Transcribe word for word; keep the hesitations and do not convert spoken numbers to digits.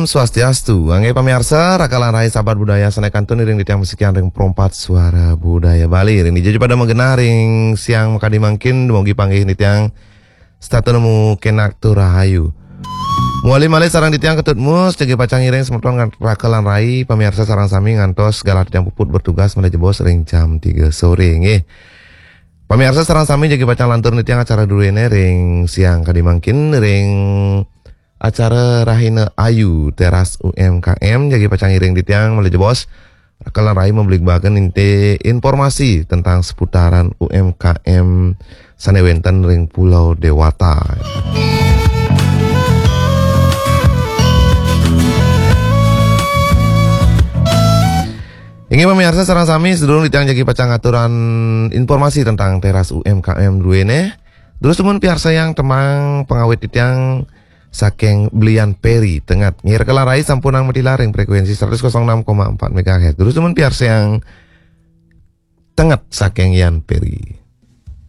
Swastiastu, inggih pamiarsa, raka lan rai sahabat budaya sané kantun iring titiang masikian ring Pro empat Suara Budaya Bali. Ring dija pada magenah ring siang makadi mangkin, dumugi panggih titiang setata nemu kenak tur rahayu. Mawali malih sareng titiang Ketut Mus, jagi pacang ngiring semeton ngan-, raka lan rai, pamiarsa sareng sami ngantos galah titiang puput bertugas malih jebos ring jam tiga sore, nggih. Pamiarsa sareng sami jagi pacang lantur nitihang acara druéné ring siang kadi mangkin ring acara Rahina Ayu Teras U M K M, jagi pacang ngiring titiang malih jebos. Raka lan rai mabligbaken inti informasi tentang seputaran U M K M sané wénten ring Pulau Dewata. Inggih pamiarsa sareng sami, sadurung titiang jagi pacang ngaturang informasi tentang Teras U M K M druéné, terus dumun piarsayang tembang pangawit titiang saking Belian Peri Tenget. Nggih, raka lan rai sampunang matilar ring frekuensi seratus kosong enam koma empat megahertz. Terus dumun piarsayang Tenget saking Yan Peri.